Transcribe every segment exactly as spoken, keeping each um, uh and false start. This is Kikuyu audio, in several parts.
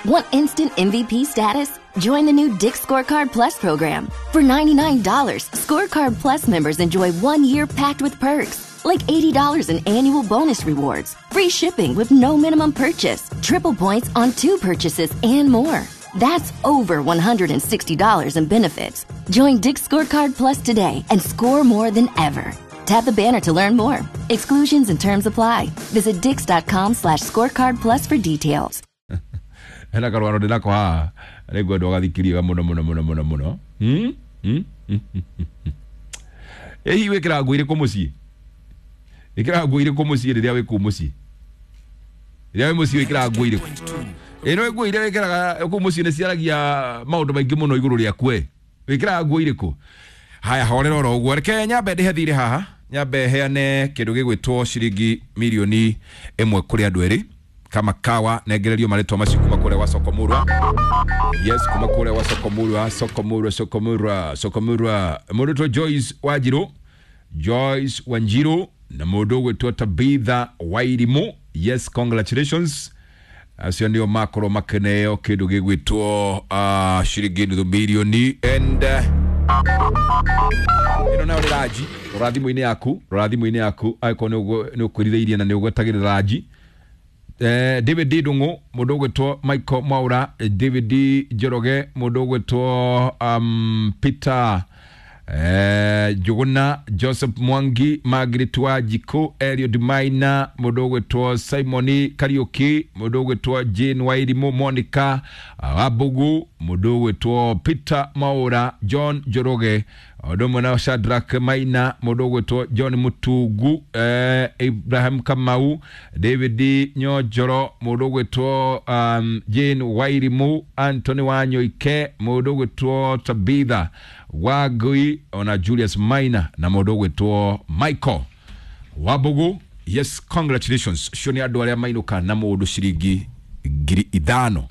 Want instant M V P status? Join the new Dick's Scorecard Plus program. For ninety-nine dollars, Scorecard Plus members enjoy one year packed with perks, like eighty dollars in annual bonus rewards, free shipping with no minimum purchase, triple points on two purchases, and more. That's over one hundred sixty dollars in benefits. Join Dick's Scorecard Plus today and score more than ever. Tap the banner to learn more. Exclusions and terms apply. Visit dicks.com slash scorecard plus for details. Hena karwaro ndinako haha nĩngwenda ũgathikirie mũno mũno mũno mũno mũno. Hmm? Hmm? Ĩ hihi wĩkĩraga nguo irĩkũ mũciĩ? Wĩkĩraga nguo irĩkũ mũciĩ rĩrĩa wĩ kũu mũciĩ? Rĩrĩa wĩ mũciĩ wĩkĩraga nguo irĩkũ? Ĩ no nguo iria wĩkĩraga kũu mũciĩ nĩ ciaragia maũndũ maingĩ mũno igũrũ rĩaku ĩ. Wĩkĩraga nguo irĩkũ? Haya, horera oro ũguo. Reke nyambe ndĩhe thirĩ haha, nyambe heane kĩndũ gĩgwĩtwo ciringi mirioni ĩmwe kũrĩ andũ erĩ kama kawa nengererio marĩtwa macio kuma kũrĩa gwa Sokomurwa. Yes, kuma kũrĩa gwa Sokomurwa, Sokomurwa, Sokomurwa, Sokomurwa. Mũndũ ũgwĩtwo Joyce Wanjiru, Joyce Wanjiru na mũndũ ũgwĩtwo Tabitha Wairimu. Yes, congratulations. Acio nĩo makorwo makeneo kĩndũ gĩgwĩtwo uh, ciringi nuthu mirioni and uh, ĩno nayo nĩ ranji. Rora thimũ-inĩ yaku, rora thimũ-inĩ yaku angĩkorwo nĩ ũkwĩrirĩirie na nĩ ũgwetagĩrĩra ranji. Eh, David Ndung'u, mũndũ ũgwĩtwo Michael Mwaura, David Njoroge, mũndũ ũgwĩtwo um, Peter eh, Njuguna, Joseph Mwangi, Margaret Wanjikũ, Eliud Maina, mũndũ ũgwĩtwo Simon Kariuki, mũndũ ũgwĩtwo Jane Wairimu, Monica Wambugu, mũndũ ũgwĩtwo Peter Mwaura, John Njoroge, ũndũ ũmwe na Shadrack Maina, mũndũ ũgwĩtwo John Mutungu, eh, Ibrahim Kamau, David Nyonjoro, mũndũ ũgwĩtwo um, Jane Wairimu, Anthony Wanyoike, mũndũ ũgwĩtwo Tabitha Wangui, ona Julius Maina na mũndũ ũgwĩtwo Michael Wambugu. Yes, congratulations. Cio nĩ andũ arĩa mainũka na mũndũ ciringi ngiri ithano.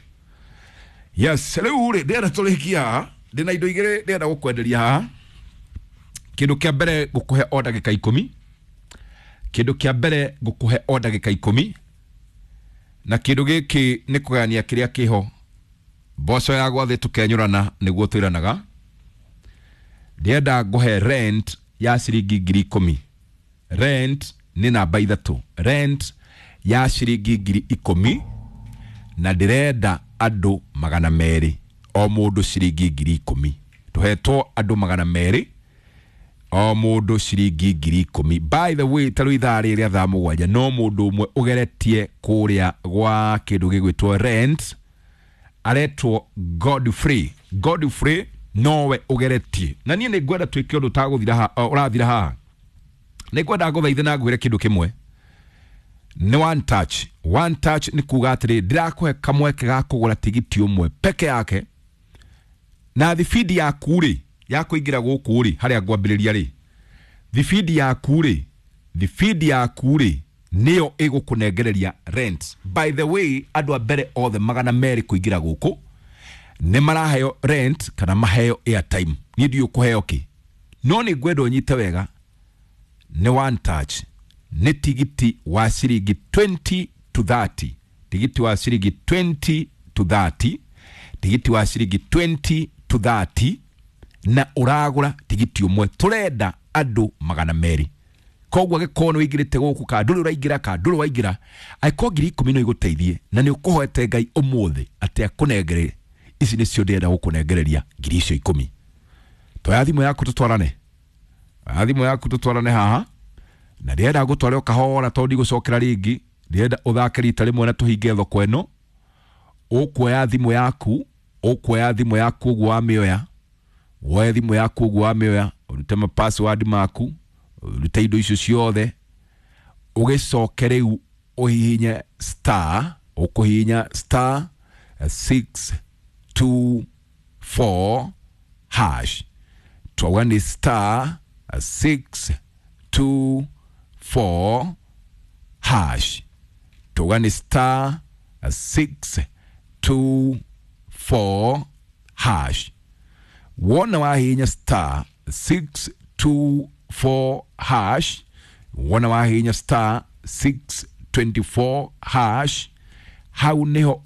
Yes, rĩu rĩ ndĩrenda tũrĩkie haha, ndĩna indo igĩrĩ ndĩrenda gũkwenderia haha. Kĩndũ kĩa mbere ngũkũhe o ndagĩka ikũmi. Kĩndũ kĩa mbere ngũkũhe o ndagĩka ikũmi. Na kĩndũ gĩkĩ nĩ kũgayania kĩrĩa kĩho. Mboco ya gwathĩ tũkenyũrana nĩguo twĩranaga. Ndĩrenda ngũhe rent ya ciringi ngiri ikũmi. Rent nĩ namba ithatũ. Rent ya ciringi ngiri ikũmi na ndĩrenda andũ magana merĩ o mũndũ ciringi ngiri ikũmi. Tũhetwo andũ magana merĩ o mũndũ ciringi ngiri ikũmi. By the way, ta rĩu ithaa rĩrĩa thaa mũgwanja no mũndũ ũmwe ũgeretie kũrĩa gwa kĩndũ gĩgwĩtwo rent aretwo Godfrey. Godfrey nowe ũgeretie. Na niĩ nĩ ngwenda twĩke ũndũ ũtagũthira haha, ũrathira haha. Nĩ ngwenda ngũthaithe na ngwĩre kĩndũ kĩmwe. Nĩ one touch. One touch nĩ kuga atĩrĩ, ndĩrakũhe kamweke ga kũgũra tigiti ũmwe peke yake na thibindi yaku rĩ ya kũingĩra gũkũ rĩ harĩa ngwambĩrĩria rĩ, thibindi yaku rĩ, thibindi yaku rĩ nĩyo ĩgũkũnengereria rent. By the way, andũ a mbere othe magana merĩ kũingĩra gũkũ nĩ maraheo rent kana maheo airtime. Niĩ ndiũĩ ũkũheo kĩ, no nĩ ngwenda ũnyite wega. Nĩ one touch, nĩ tigiti wa ciringi twenty to thirty, tigiti wa ciringi twenty to thirty, tigiti wa ciringi twenty to thirty, na ũragũra tigiti ũmwe. Tũrenda andũ magana merĩ. Koguo angĩkorwo nĩ ũingĩrĩte gũkũ ka ndũrĩ ũraingĩra ka ndũrĩ waingĩra, angĩkorwo ngiri ikũmi no igũteithie na nĩ ũkũhoete Ngai ũmũthĩ atĩ akũnengere ici nĩcio ndĩrenda gũkũnengereria ngiri icio ikũmi. Toya thimũ yaku tũtwarane, oya thimũ yaku tũtwarane haha, na ndĩrenda ngũtware o kahora tondũ ndigũcokera rĩngĩ. Ndĩrenda ũthake rita rĩmwe na tũhinge thoko ĩno. Ũkuoya thimũ yaku, ũkuoya thimũ yaku ũguo wamĩoya, woe thimũ yaku ũguo wamĩoya, ũrute ma password maku, ũrute indo icio ciothe, ũgĩcoke rĩu ũhihinye star, ũkũhihinya star six two four hash. Twauga nĩ star six two four hash. Twauga nĩ star six two four hash. Wona wahihinya star six two four hash, wona wahihinya star six twenty-four hash, hau niho